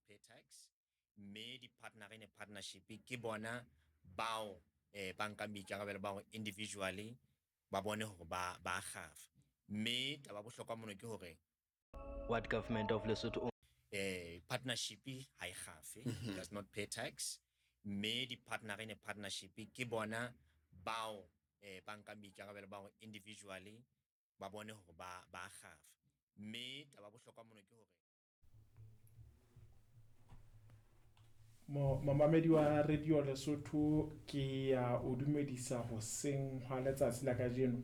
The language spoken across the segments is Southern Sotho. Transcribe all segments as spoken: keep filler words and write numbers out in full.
pay tax, mme di-partner in a partnership ke bona bao eh, ba nkang boikarabelo ba hore individually ba bone hore ba ba kgafa. Mme taba ya bohlokwa mono ke hore What government of Lesotho eh, partnership ha e kgafe, does not pay tax, mme di-partner in a partnership ke bona bao eh, ba nkang boikarabelo ba hore individually ba bone hore ba ba kgafa. Mme taba ya bohlokwa mono ke hore Mo momamedi wa Radio Lesotho ke ya o dumedisa hoseng hwa letsatsi la kajeno.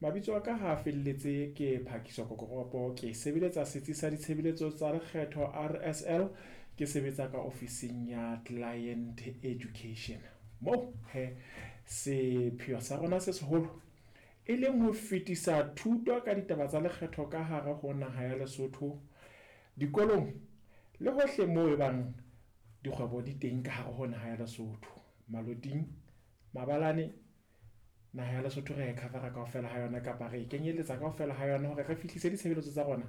Mabitso a ka ha felletse ke Phakiso Kokoropo, ke sebeletsa setsi sa ditshebeletso tsa lekgetho R S L, ke sebetsa ka ofising ya Client Education. Mo he sepheo sa rona se seholo e leng ho fetisa thuto ka ditaba tsa lekgetho ka hare ho naha ya Lesotho, dikolong le hohle moo e bang dikgwebo di teng ka hare ho naha ya Lesotho. Maloting, Mabalane, naha ya Lesotho re e cover-a kaofela ha yona kapa re e kenyeletsa kaofela ha yona hore re fihlise ditshebeletso tsa rona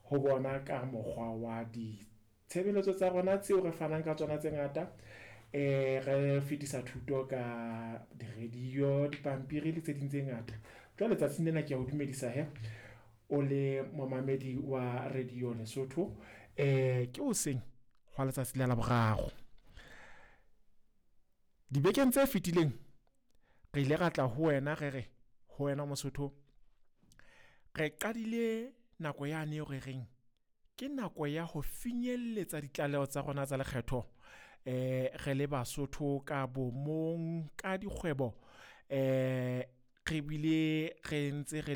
ho bona ka mokgwa wa ditshebeletso tsa rona tseo re fanang ka tsona tse ngata. Eh, re fetisa thuto ka di-radio, dipampiri le tse ding tse ngata. Jwale tsatsing lena ke a o dumedisa he o le momamedi wa Radio Lesotho. Eh, ke hoseng hwa letsatsi la Laboraro. Dibekeng tse fetileng re ile ra tla ho wena re re ho wena Mosotho, re qadile nako yane eo re reng ke nako ya ho finyelletsa ditlaleho tsa rona tsa lekgetho, eh, re le Basotho ka bomong, ka dikgwebo, eh, re bile re ntse re